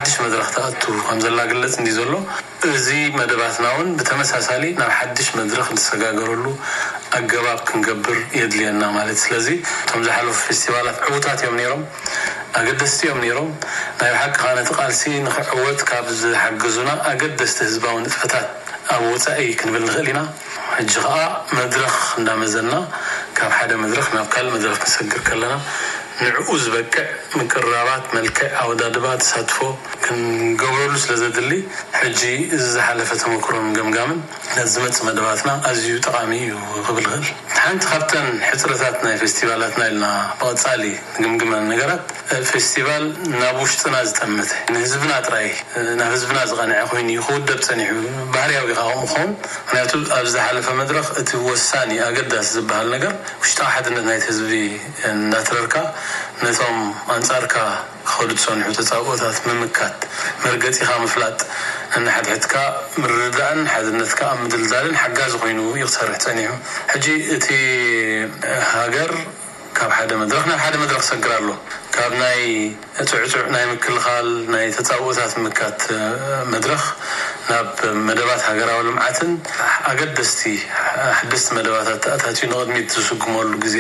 ሓድሽ መድረኽ ትኣቱ ከም ዘላ ግለጽ እንዲ ዘሎ፣ እዚ መደባትና እውን ብተመሳሳሊ ናብ ሓድሽ መድረኽ ንሰጋገረሉ ኣገባብ ክንገብር የድልየና ማለት። ስለዚ እቶም ዝሓለፉ ፌስቲቫላት ዕዉታት እዮም ነይሮም፣ ኣገደስቲ እዮም ነይሮም። ናይ ብሓቂ ከዓ ነቲ ቃልሲ ንክዕወት ካብ ዝሓገዙና ኣገደስቲ ህዝባዊ ንጥፈታት ኣብ ወፃኢ ክንብል ንኽእል ኢና። ሕጂ ከዓ መድረኽ እንዳመዘና ካብ ሓደ መድረኽ ናብ ካልእ መድረኽ ክንሰግር ከለና ንዕኡ ዝበቅዕ ምቅርራባት፣ መልክዕ፣ ኣወዳድባ፣ ተሳትፎ ክንገብረሉ ስለ ዘድሊ፣ ሕጂ እዚ ዝሓለፈ ተመክሮን ገምጋምን ነቲ ዝመጽእ መደባትና ኣዝዩ ጠቓሚ እዩ ክብል ይኽእል። ሓንቲ ካብተን ሕጽረታት ናይ ፌስቲቫላትና ኢልና ብቐጻሊ ንግምግመን ነገራት፣ ፌስቲቫል ናብ ውሽጥና ዝጠመተ፣ ንህዝብና ጥራይ፣ ናብ ህዝብና ዝቐንዐ ኮይኑ እዩ ክውደብ ጸኒሑ። ባህርያዊ ከዓ ከምኡ ክኸውን፣ ምኽንያቱ ኣብ ዝሓለፈ መድረኽ እቲ ወሳኒ ኣገዳሲ ዝበሃል ነገር ውሽጣዊ ሓድነት ናይቲ ህዝቢ እንዳትረርካ፣ ነቶም ኣንጻርካ ክኸዱ ዝጸንሑ ተጻብኦታት ምምካት፣ መርገጺኻ ምፍላጥ፣ ነንሓድሕድካ ምርድዳእን ሓድነትካ ኣብ ምድልዳልን ሓጋዚ ኮይኑ እዩ ክሰርሕ ጸኒሑ። ሕጂ እቲ ሃገር ካብ ሓደ መድረኽ ናብ ሓደ መድረኽ ሰግር ኣሎ። ካብ ናይ ጽዕጹዕ ናይ ምክልኻል ናይ ተጻብኦታት ምምካት መድረኽ ናብ መደባት ሃገራዊ ልምዓትን ኣገደስቲ ሓደስቲ መደባታት ተኣታትዩ ንቕድሚት ዝስጉመሉ ግዜ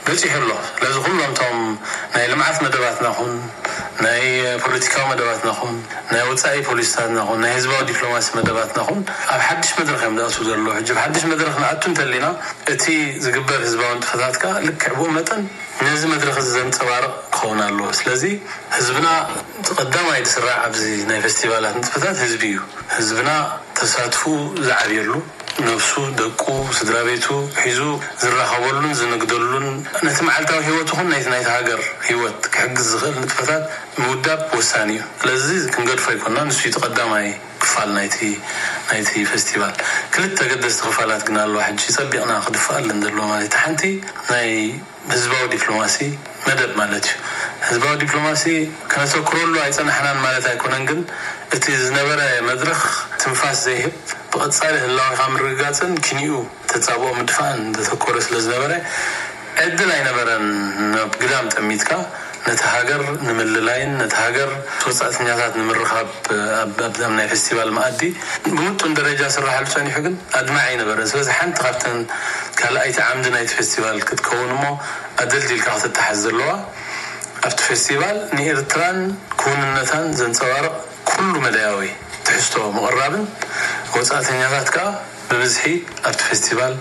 በጺሑ ኣሎ። ስለዚ ኩሎም እቶም ናይ ልምዓት መደባትና ኹን፣ ናይ ፖለቲካዊ መደባትና ኹን፣ ናይ ወጻኢ ፖሊሲታትና ኹን፣ ናይ ህዝባዊ ዲፕሎማሲ መደባትና ኹን ኣብ ሓድሽ መድረኽ እዮም ዝኣትዉ ዘለዉ። ሕጂ ኣብ ሓድሽ መድረኽ ንኣቱ እንተሊና፣ እቲ ዝግበር ህዝባዊ ንጥፈታት ከኣ ልክዕ ብኡ መጠን ነዚ መድረኽ እዚ ዘንጸባርቕ ክኸውን ኣለዎ። ስለዚ ህዝብና እቲ ቀዳማይ ዝስራዕ ኣብዚ ናይ ፌስቲቫላት ንጥፈታት ህዝቢ እዩ። ህዝብና ተሳትፍኡ ዝዓብየሉ፣ ነብሱ፣ ደቁ፣ ስድራ ቤቱ ሒዙ ዝራኸበሉን ዝንግደሉን ነቲ መዓልታዊ ህይወቱ ኹን ናይቲ ናይቲ ሃገር ህይወት ክሕግዝ ዝኽእል ንጥፈታት ምውዳብ ወሳኒ እዩ። ስለዚ ክንገድፎ ኣይኮና፣ ንሱ እዩ እቲ ቀዳማይ ክፋል ናይቲ ናይቲ ፌስቲቫል። ክልተ ገደስቲ ክፋላት ግን ኣለዋ ሕጂ ጸቢቕና ክድፍኣለን ዘለዎ ማለት። ሓንቲ ናይ ህዝባዊ ዲፕሎማሲ መደብ ማለት እዩ። ህዝባዊ ዲፕሎማሲ ከነተኩረሉ ኣይጸናሕናን ማለት ኣይኮነን፣ ግን እቲ ዝነበረ መድረኽ ትንፋስ ዘይህብ፣ ብቐጻሊ ህላዌኻ ምርግጋጽን ኪንኡ ተጻብኦ ምድፋእን ዘተኮረ ስለ ዝነበረ፣ ዕድል ኣይነበረን ናብ ግዳም ጠሚትካ ነቲ ሃገር ንምልላይን ነቲ ሃገር ወጻእተኛታት ንምርኻብ ኣብ ኣብ ናይ ፌስቲቫል መኣዲ ብምጡን ደረጃ ስራሓሉ ጸኒሑ፣ ግን ኣድማዒ ኣይነበረን። ስለዚ ሓንቲ ካብተን ካልኣይቲ ዓምዲ ናይቲ ፌስቲቫል ክትከውን እሞ ኣደልዲልካ ክትተሓዝ ዘለዋ፣ ኣብቲ ፌስቲቫል ንኤርትራን ክውንነታን ዘንጸባርቕ ኩሉ መዳያዊ ትሕዝቶ ምቕራብን ወጻእተኛታት ከኣ ብብዝሒ ኣብቲ ፌስቲቫል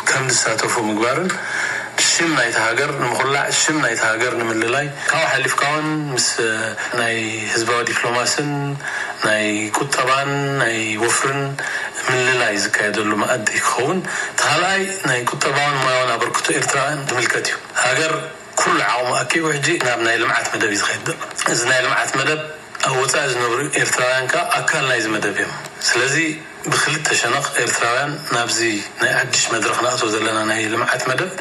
ከም ዝሳተፉ ምግባርን ሽም ናይቲ ሃገር ንምኹላዕ፣ ሽም ናይቲ ሃገር ንምልላይ፣ ካብኡ ሓሊፍካ እውን ምስ ናይ ህዝባዊ ዲፕሎማስን ናይ ቁጠባን ናይ ወፍርን ምልላይ ዝካየደሉ መኣዲ ክኸውን፣ እቲ ካልኣይ ናይ ቁጠባውን ሞያውን ኣበርክቶ ኤርትራውያን ዝምልከት እዩ። ሃገር ኩሉ ዓቕሙ ኣኪቡ ሕጂ ናብ ናይ ልምዓት መደብ እዩ ዝኸይድ ዘሎ። እዚ ናይ ልምዓት መደብ ኣብ ወጻኢ ዝነብሩ ኤርትራውያን ከኣ ኣካል ናይዚ መደብ እዮም። ስለዚ ብክልተ ሸነኽ ኤርትራውያን ናብዚ ናይ ሓድሽ መድረኽ ንኣትዎ ዘለና ናይ ልምዓት መደብ፣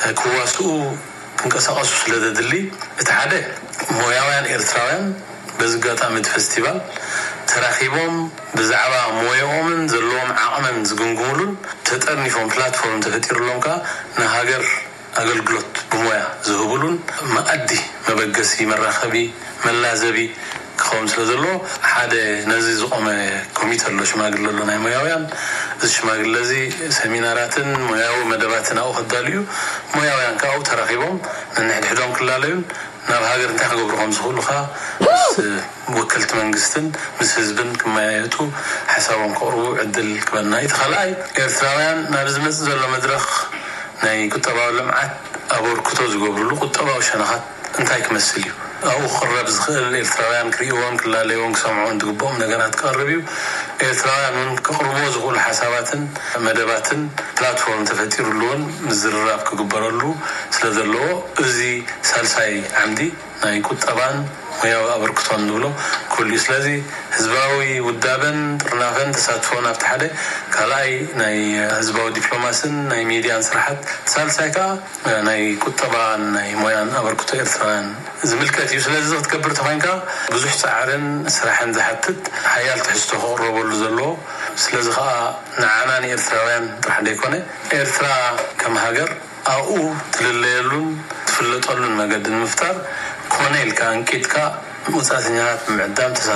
እ፣ ክዋስኡ ክንቀሳቐሱ ስለ ዘድሊ፣ እቲ ሓደ ሞያውያን ኤርትራውያን በዚ ኣጋጣሚ እቲ ፌስቲቫል ተራኺቦም ብዛዕባ ሞያኦምን ዘለዎም ዓቕምን ዝግምግሙሉን ተጠርኒፎም ፕላትፎርም ተፈጢሩሎም ከኣ ንሃገር ኣገልግሎት ብሞያ ዝህቡሉን መኣዲ መበገሲ መራኸቢ መላዘቢ ክኸውን ስለ ዘለዎ ሓደ ነዚ ዝቖመ ኮሚተ ኣሎ፣ ሽማግለ ኣሎ ናይ ሞያውያን። እዚ ሽማግለ እዚ ሰሚናራትን ሞያዊ መደባትን ኣብኡ ከዳልዩ፣ ሞያውያን ከኣ ኣብኡ ተራኺቦም ነንሕድሕዶም ክላለዩን ናብ ሃገር እንታይ ክገብሩ ከም ዝኽእሉ ከኣ ምስ ወከልቲ መንግስትን ምስ ህዝብን ክመያየጡ ሓሳቦም ከቕርቡ ዕድል ክበና። እቲ ካልኣይ ኤርትራውያን ናብ ዝመጽእ ዘሎ መድረኽ ናይ ቁጠባዊ ልምዓት ኣበርክቶ ዝገብርሉ ቁጠባዊ ሸነኻት እንታይ ክመስል እዩ? ኣብኡ ክቕረብ ዝኽእል ኤርትራውያን ክርእይዎን ክላለይዎን ክሰምዕዎን ዝግብኦም ነገራት ክቐርብ እዩ። ኤርትራውያን እውን ክቕርብዎ ዝኽእሉ ሓሳባትን መደባትን ፕላትፎርም ተፈጢሩሉ እውን ምዝርራብ ክግበረሉ ስለ ዘለዎ፣ እዚ ሳልሳይ ዓምዲ ናይ ቁጠባን ሞያዊ ኣበርክቶን ንብሎ ኩሉ እዩ። ስለዚ ህዝባዊ ውዳበን ጥርናፈን ተሳትፎን ኣብቲ ሓደ፣ ካልኣይ ናይ ህዝባዊ ዲፕሎማስን ናይ ሚድያን ስራሓት፣ ሳልሳይ ከዓ ናይ ቁጠባን ናይ ሞያን ኣበርክቶ ኤርትራውያን ዝምልከት እዩ። ስለዚ እዚ ክትገብር ተኾይንካ ብዙሕ ጻዕርን ስራሕን ዝሓትት ሓያል ትሕዝቶ ክቕረበሉ ዘለዎ። ስለዚ ከዓ ንዓና ንኤርትራውያን ጥራሕ ዘይኮነ፣ ኤርትራ ከም ሃገር ኣብኡ ትልለየሉን ትፍለጠሉን መገዲ ንምፍጣር፣ ኮነ ኢልካ እንቂጥካ ወጻእተኛታት ብምዕዳም ተሳ